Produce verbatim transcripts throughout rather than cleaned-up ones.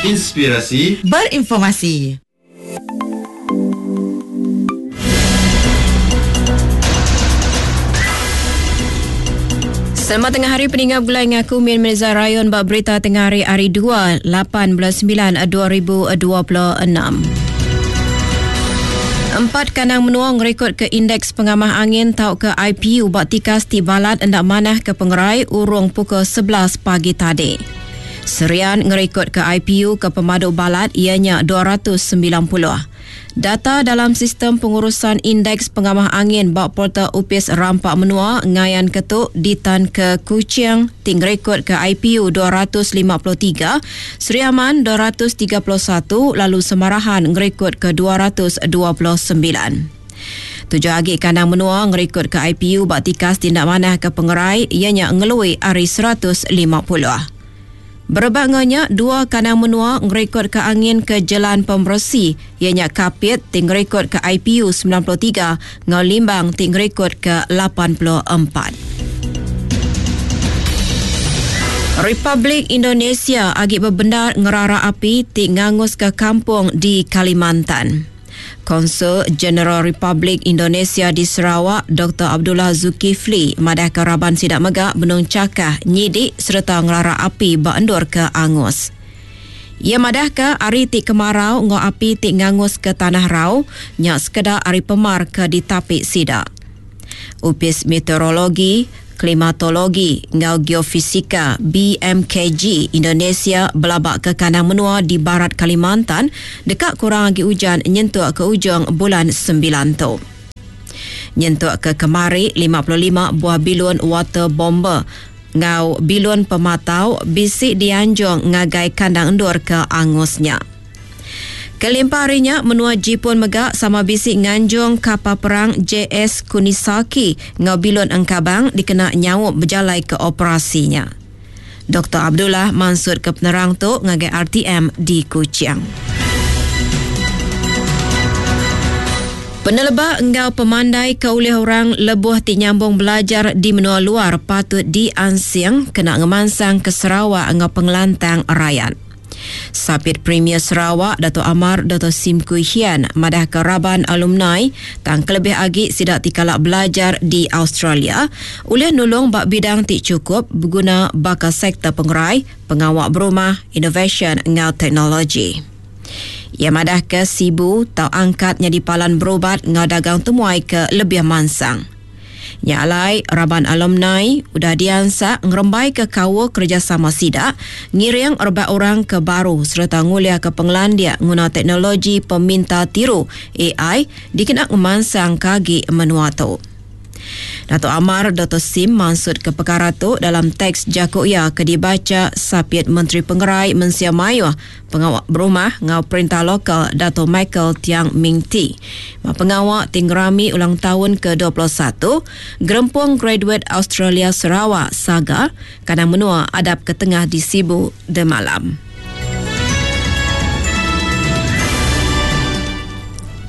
Inspirasi Berinformasi. Selamat tengah hari peninggal gulai ngaku Min Mirza Rayon bak berita tengah hari hari dua lapan bulan sembilan dua ribu dua puluh enam. Empat kanang menua ngerekod ke indeks pengamah angin tau ke I P U bak tikas ti balat endak manah ke pengerai urung pukul sebelas pagi tadi. Serian ngerekod ke I P U ke pemadu balat ianya dua ratus sembilan puluh. Data dalam sistem pengurusan indeks pengamah angin bak portal Upis Rampak Menua ngayan ketuk ditan ke Kuching ting rekod ke I P U dua ratus lima puluh tiga, Sri Aman dua ratus tiga puluh satu, lalu Semarahan ngerekod ke dua ratus dua puluh sembilan. Tujuh agi kandang menua ngerekod ke I P U bak tikas tindak manah ke pengerai ianya ngelui ari seratus lima puluh. Berebak ngenya, dua kandang menua ngerekod ke angin ke Jalan Pembersih, ianya Kapit ting ngerekod ke I P U sembilan puluh tiga, ngau Limbang ting ngerekod ke lapan puluh empat. Republik Indonesia agi berbendar ngerara api ti ngangus ke kampung di Kalimantan. Konsul Jeneral Republik Indonesia di Sarawak, Doktor Abdullah Zulkifli, madah ke raban sidak megak benung cakah nyidik serta ngerara api beendur ke Angus. Ia madah ke ari ti kemarau ngau api ti ngangus ke Tanah Rau, nyak sekedar ari pemar ke ditapik sidak. Upis Meteorologi, Klimatologi ngau Geofisika B M K G Indonesia belabak ke kandang menua di barat Kalimantan dekat kurang agi hujan nyentuk ke ujung bulan sembilan tu. Nyentuk ke kemari lima puluh lima buah bilun water bomber ngau bilun pematau bisik dianjung ngagai kandang endur ke angusnya. Kelimpah harinya, menua Jepun megak sama bisik nganjung kapal perang J S Kunisaki ngau bilun engkabang dikena nyawuk berjalai ke operasinya. Doktor Abdullah mansut ke penerang tu ngagai R T M di Kuching. Peneleba enggau pemandai ke ulih orang lebuh ti nyambung belajar di menua luar patut diansing kena ngemansang ke Sarawak enggau pengelantang rakyat. Sapit Premier Sarawak Dato' Amar Dato' Sim Kui Hian madah ke raban alumni tang kelebih agi sidak tikalak belajar di Australia ulih nulung bak bidang ti cukup berguna bakal sektor pengerai, pengawak berumah, inovasi enggau teknologi. Ia madah ke Sibu tau angkatnya di palan berubat ngau dagang temuai ke lebih mansang. Nya alai raban alumni udah diansak ngerembai ke kawa kerjasama sidak ngiring rebak orang ke baru serta ngulia ke penglandia guna teknologi peminta tiru A I dikena ngemansang kagi menua tu. Dato' Amar Dato' Sim maksud ke perkara tu dalam teks jakuk ia ke dibaca Sapit Menteri Pengerai Mensia Mayuh Pengawak Berumah ngau Perintah Lokal Dato' Michael Tiang Ming Tee. Ma pengawak tinggrami ulang tahun ke dua puluh satu Gerempung Graduate Australia Sarawak Saga kadang menua adab ke tengah di Sibu demalam.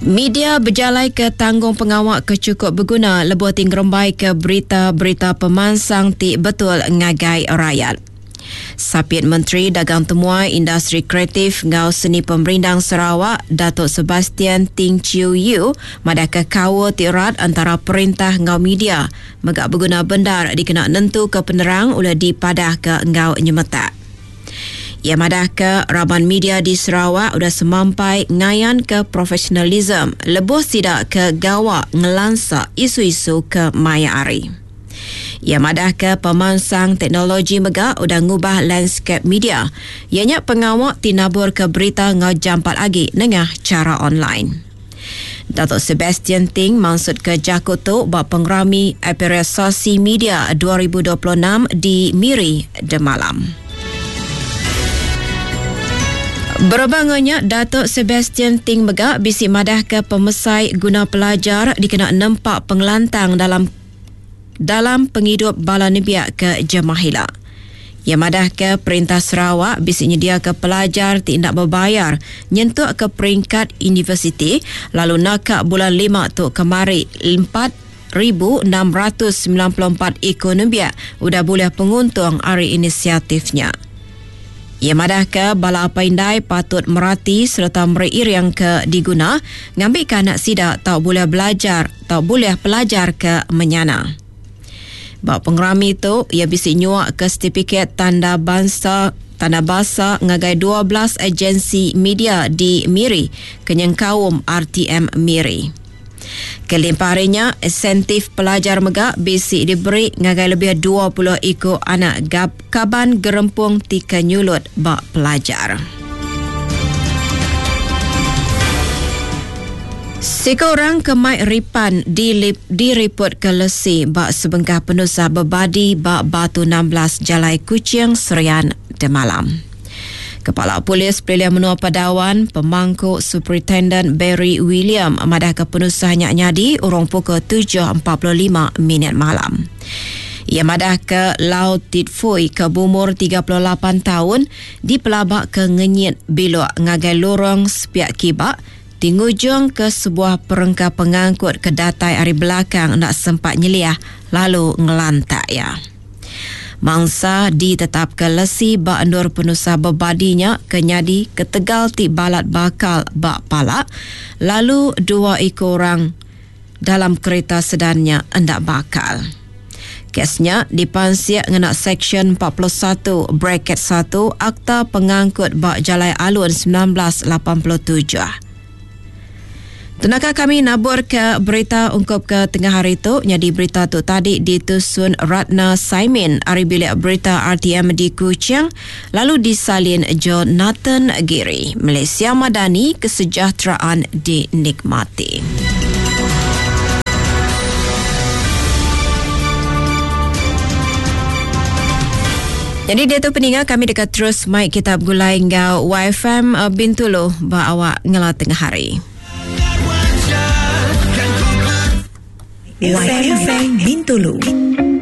Media berjalai ke tanggung pengawak ke cukup berguna lebuh tinggerembai ke berita-berita pemansang ti betul ngagai rakyat. Sapit Menteri Dagang Temuai Industri Kreatif ngau Seni Pemerindang Sarawak Datuk Sebastian Ting Chiu Yu madah ke kawa ti erat antara perintah ngau media megak berguna bendar dikena nentu ke penerang oleh dipadah ke ngau nyemetak. Ia madah ke raban media di Sarawak udah semampai ngayan ke profesionalism lebuh sidak ke gawak ngelansa isu-isu ke maya ari. Ia madah ke pemansang teknologi mega udah ngubah landscape media. Ianya pengawak tinabur ke berita ngau jampat agi nengah cara online. Datuk Sebastian Ting maksud ke jakut tu bak pengerami Apresiasi Media dua ribu dua puluh enam di Miri demalam. Berbangannya, Datuk Sebastian Ting mega bisi madah ke pemesai guna pelajar dikena nempak pengelantang dalam, dalam penghidup bala nebiak ke Jemahila. Ia madah ke Perintah Sarawak bisi nyedia ke pelajar ti nak berbayar nyentuk ke peringkat universiti lalu nakak bulan lima tu kemari empat ribu enam ratus sembilan puluh empat ekonomi udah boleh penguntung ari inisiatifnya. Ia madah ke bala apa indai patut merati serta meri iring ke diguna ngambil ke anak sida tau boleh belajar tau boleh pelajar ke menyana. Ba pengerami tu ia bisi nyuak ke sertifikat tanda bangsa tanda basa ngagai dua belas agensi media di Miri kenyengkaum R T M Miri. Kelimpaharinya, insentif pelajar mega bisi diberi ngagai lebih dua puluh iku anak gab kaban gerempung tika nyulut ba pelajar. Siko orang ke mai ripan dilip, diriput ke lesi ba sebengkah penusah bebadi ba Batu enam belas Jalai Kuching Serian Demalam. Kepala Polis Pelilih Menua Padawan, Pemangku Superintendent Barry William madah ke penusah nyak nyadi urung pukul tujuh empat puluh lima minit malam. Ia madah ke Lau Tit Fui ke berumur tiga puluh lapan tahun dipelabak ke ngenyit bilok ngagai lorong sepiak kibak tingujung ke sebuah perengka pengangkut ke datai ari belakang nak sempat nyeliah lalu ngelantak ya. Mangsa ditetap ke lesi ba endur penusah bebadinya ke nyadi ketegal ti balat bakal ba palak lalu dua ekor orang dalam kereta sedannya endak bakal. Kesnya dipansiak ngena Seksyen empat puluh satu bracket satu Akta Pengangkut ba Jalai Alun sembilan belas lapan puluh tujuh. Tenaka kami nabur ke berita ungkup ke tengah hari tu. Jadi berita tu tadi ditusun Ratna Saimin ari bilik berita R T M di Kuching lalu disalin Jonathan Giri. Malaysia Madani, kesejahteraan dinikmati. Jadi dia tu peninggal kami dekat terus mic kita bergulai ngau Y F M Bintulu ba awak ngela tengah hari. Y F M Bintulu.